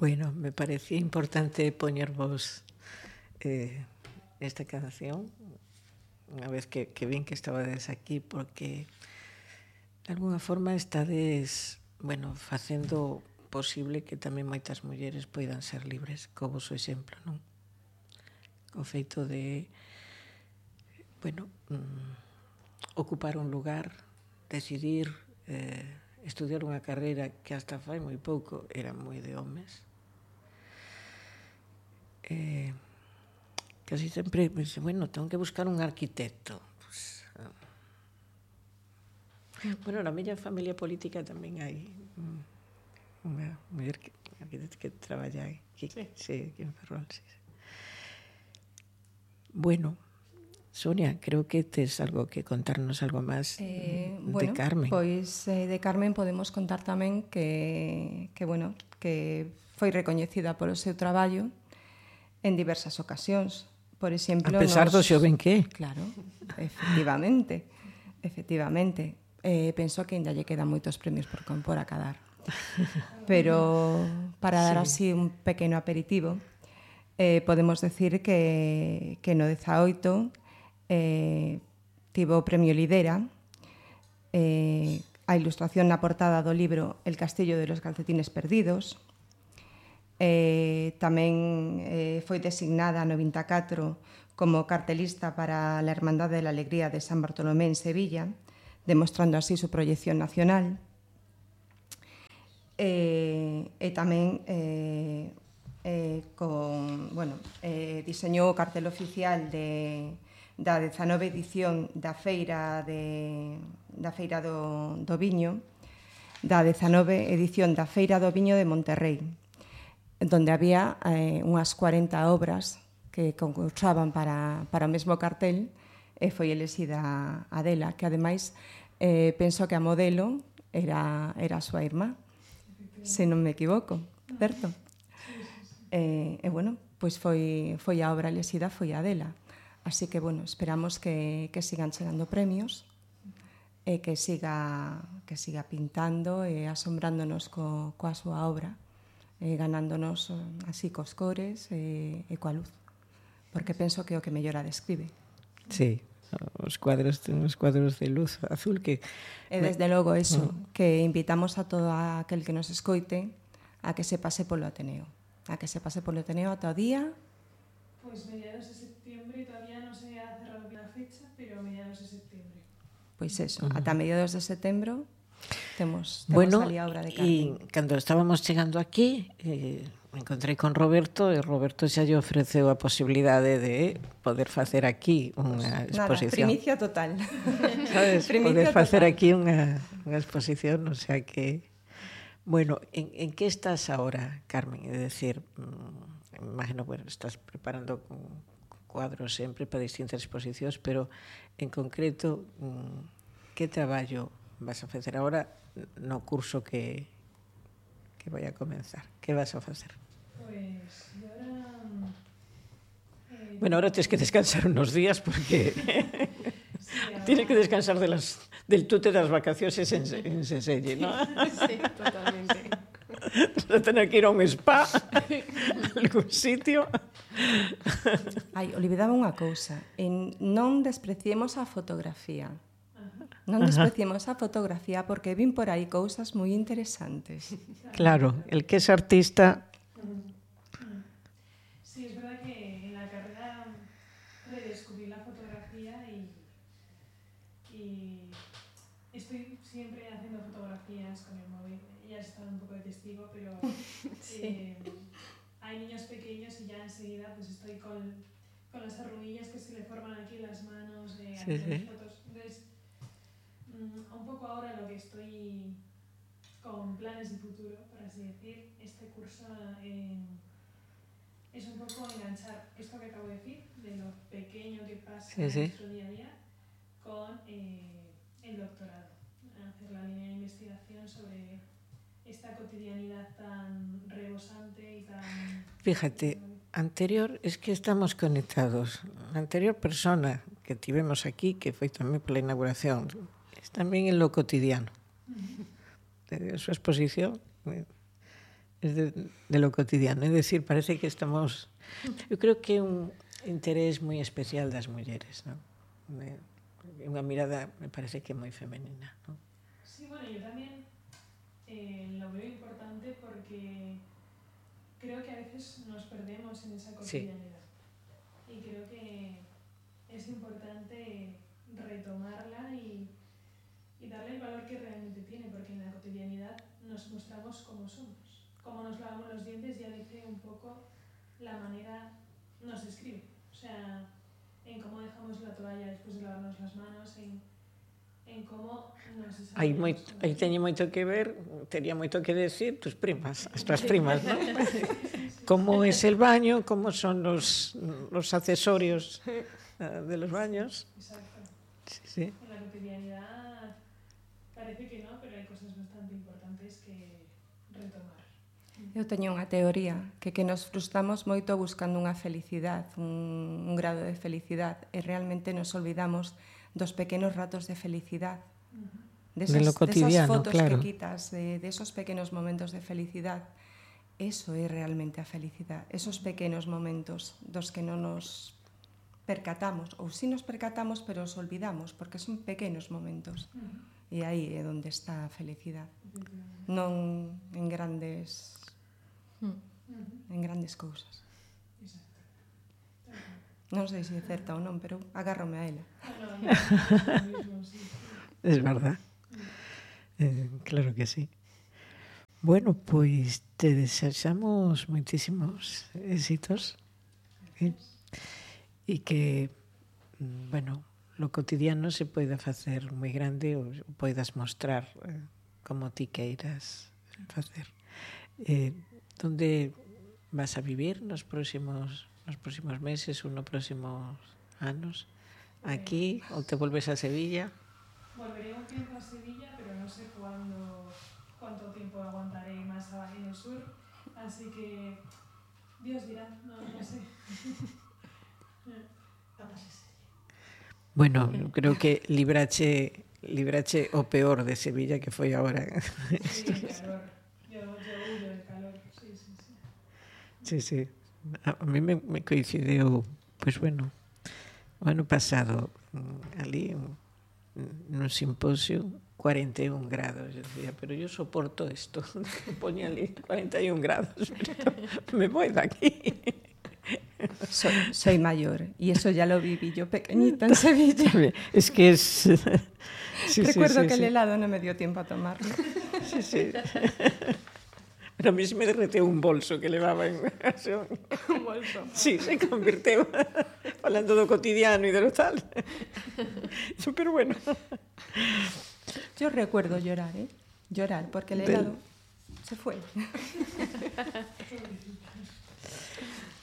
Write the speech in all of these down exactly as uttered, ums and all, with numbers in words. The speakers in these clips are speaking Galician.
Bueno, me parecía importante poñervos eh, esta canción unha vez que, que vin que estabades aquí, porque de alguna forma estades, bueno, facendo posible que tamén moitas mulleres poidan ser libres, co vosso exemplo, non? O feito de, bueno, mm, ocupar un lugar, decidir eh, estudiar unha carreira que hasta fai moi pouco era moi de homes. Eh, casi sempre pense, bueno, tengo que buscar un arquitecto. Pues, uh, bueno, na miña familia política tamén hai unha muller que, arquitecta que traballa aquí, sí, sí, aquí en Ferrol, sí, sí. Bueno, Sonia, creo que tes algo que contarnos algo máis eh, de bueno, Carmen. Pois eh, de Carmen podemos contar tamén que, que, bueno, que foi recoñecida polo seu traballo en diversas ocasións. Por exemplo, a pesar nos... do xoven que é. Claro, efectivamente, efectivamente. Eh, penso que ainda lle quedan moitos premios por, por acadar. Pero para dar así un pequeno aperitivo, eh, podemos decir que, que no dezaoito eh, tivo o premio Lidera, eh, a ilustración na portada do libro El castillo de los calcetines perdidos. Eh, tamén eh, foi designada no vinte e catro como cartelista para la Hermandad de la Alegría de San Bartolomé en Sevilla, demostrando así su proyección nacional. Eh, e tamén eh, eh, con, bueno, eh, diseñou o cartel oficial de, da dezanove edición da Feira, de, da Feira do, do Viño, da dezanove edición da Feira do Viño de Monterrey, donde había eh, unhas cuarenta obras que concursaban para, para o mesmo cartel, e foi elexida a dela, que ademais eh, penso que a modelo era, era a súa irmá, se non me equivoco, certo? E, eh, bueno, pois foi, foi a obra elexida, foi a dela. Así que, bueno, esperamos que, que sigan chegando premios e que siga, que siga pintando e asombrándonos co, coa súa obra, eh, ganándonos así cos cores e, e coa luz, porque penso que é o que mellor a describe. Sí, os cuadros, os cuadros de luz azul que... E desde logo eso, mm. que invitamos a todo aquel que nos escoite a que se pase polo Ateneo, a que se pase polo Ateneo ata o día... Pois mediados de septiembre, todavía non se ha cerrado la fecha, pero mediados de septiembre. Pois eso, uh-huh. ata mediados de setembro temos, temos bueno, ali a obra de Carmen. E cando estábamos chegando aquí, eh, me encontrei con Roberto, e Roberto xa lle ofreceu a posibilidade de poder facer aquí unha pues, exposición. Nada, primicia total. Sabes, primicia poder facer total. aquí unha, unha exposición, o sea que... Bueno, en, en que estás ahora, Carmen? É dicir, mmm, imagino, bueno, estás preparando con, con cuadros sempre para distintas exposicións, pero en concreto, mmm, que traballo vas a facer agora no curso que, que vai a comenzar? Que vas a facer? Pois, pues, ahora... Eh, bueno, ahora tens que descansar unos días porque... sí, ahora... tienes que descansar de las, del tute das vacaciones en, en Seselle, ¿no? Sí, totalmente. Vas a tener que ir a un spa, a algún sitio. Ai, olvidaba unha cousa. En, non despreciemos a fotografía. Non despreciemos a fotografía porque vin por aí cousas moi interesantes. Claro, el que es artista... Sí, es verdad que en la carrera redescubrí la fotografía y, y estoy siempre haciendo fotografías con el móvil. Ya has estado un poco de testigo, pero sí. eh, hay niños pequeños y ya enseguida pues estoy con, con las arruguillas que se le forman aquí en las manos, eh, sí, haciendo sí. fotos. Entonces, un poco ahora lo que estoy con planes de futuro, por así decir, este curso eh, es un poco enganchar esto que acabo de decir, de lo pequeño que pasa sí, sí. en nuestro día a día, con eh, el doctorado, hacer la línea de investigación sobre esta cotidianidad tan rebosante y tan... Fíjate, anterior, es que estamos conectados. La anterior persona que tivemos aquí, que foi tamén pola inauguración, es tamén en lo cotidiano. De su exposición es de, de lo cotidiano. É dicir, parece que estamos... Eu creo que é un interés moi especial das mulleres, non? É unha mirada, me parece que é moi femenina, non? Sí, bueno, yo también eh, lo veo importante porque creo que a veces nos perdemos en esa cotidianidad. Sí. Y creo que es importante retomarla y, y darle el valor que realmente tiene, porque en la cotidianidad nos mostramos como somos. Como nos lavamos los dientes ya dice un poco la manera, nos describe. O sea, en cómo dejamos la toalla después de lavarnos las manos, en, en cómo nos Aí, moi, aí teñe moito que ver, tería moito que decir tus primas, as tuas primas, ¿no? Cómo es el baño, cómo son los, los accesorios uh, de los baños. Exacto. Sí, sí. En la cotidianidad parece que no, pero hay cosas bastante importantes que retomar. Eu teño unha teoría que que nos frustramos moito buscando unha felicidade, un, un grado de felicidade, e realmente nos olvidamos dos pequenos ratos de felicidade. De, esas, de lo cotidiano, de esas fotos claro. que quitas, de, de esos pequenos momentos de felicidade. Eso é realmente a felicidade. Esos pequenos momentos dos que non nos percatamos, ou si nos percatamos, pero os olvidamos, porque son pequenos momentos. E aí é onde está a felicidade. Non en grandes... en grandes cousas. Non sei se é certa ou non, pero agárrome a ela. Es verdad. Eh, claro que sí. Bueno, pois te desexamos moitísimos éxitos. ¿Sí? E que, bueno, lo cotidiano se poida facer moi grande ou poidas mostrar eh, como ti queiras facer. Eh, donde vas a vivir nos próximos nos próximos meses ou nos próximos anos? Aquí ou te volves a Sevilla? Volveré un tiempo a Sevilla, pero no sé cuándo, cuánto tiempo aguantaré más en el sur, así que Dios dirá, no, no sé. Bueno, creo que librache librache o peor de Sevilla que foi agora. Sí, el calor. Yo, yo huyo del calor, sí, sí, sí. Sí, sí. A mí me, me coincidiu, pues bueno, o ano pasado, ali, nun simposio, cuarenta y un grados. Yo decía, pero yo soporto esto. Ponía ali cuarenta y un grados, pero me voy de aquí. Soy, soy mayor y eso ya lo viví yo pequeñita en Sevilla. Es que es... Sí, Recuerdo sí, sí, que sí. el helado no me dio tiempo a tomarlo. Sí, sí. Pero a mí se me derreteu un bolso que levaba en... Un bolso. Sí, se convirteu falando do cotidiano e de lo tal. Pero bueno. Yo recuerdo llorar, ¿eh? Llorar, porque el helado Del... se fue.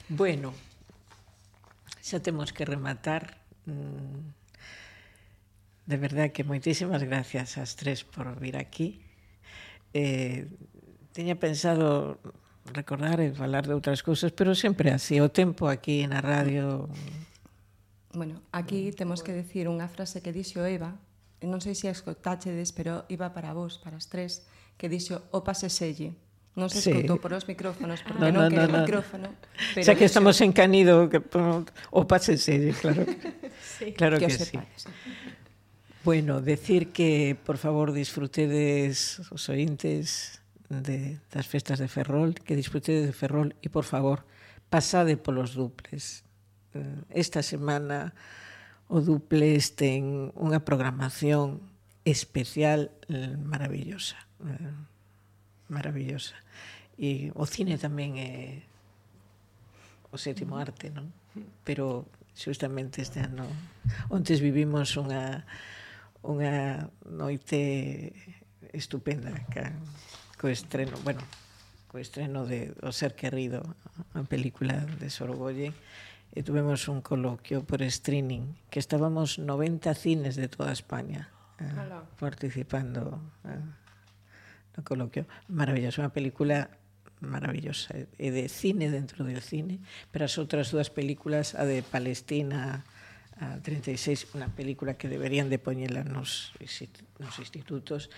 Bueno, xa temos que rematar. De verdad que moitísimas gracias ás tres por vir aquí. Eh, teña pensado recordar e falar de outras cousas, pero sempre así, o tempo aquí na radio... Bueno, aquí temos que decir unha frase que dixo Eva, non sei se a escotáchedes, pero iba para vos, para as tres, que dixo o pase selle. Non se escotou sí. por os micrófonos, porque no, non no, quere no, no. micrófono. Pero xa que dixo... estamos en Canido, que, o pase selle, claro. Sí. Claro que, que sí. Sepades. Bueno, decir que, por favor, disfrutedes os ointes de, das festas de Ferrol, que disfrutedes de Ferrol e, por favor, pasade polos duples. Esta semana o duples ten unha programación especial maravillosa. Maravillosa. E o cine tamén é o sétimo arte, non? Pero xustamente este ano ontes vivimos unha unha noite estupenda ca, co estreno, bueno, co estreno de O ser querido, a película de Sorogoyen, e tuvemos un coloquio por streaming, que estábamos noventa cines de toda España eh, participando eh, no coloquio. Maravillosa, unha película maravillosa, e de cine dentro del cine, pero as outras dúas películas, a de Palestina, a treinta e seis, unha película que deberían de poñela nos, nos institutos,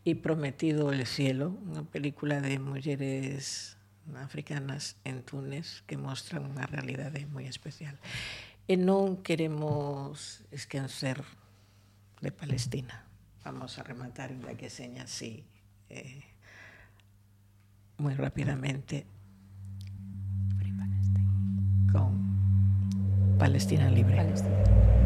e Prometido el cielo, unha película de mulleres africanas en Túnez que mostran unha realidade moi especial. E non queremos esquecer de Palestina. Vamos a rematar, ainda que seña así, eh, moi rapidamente, con Palestina Libre. Palestina.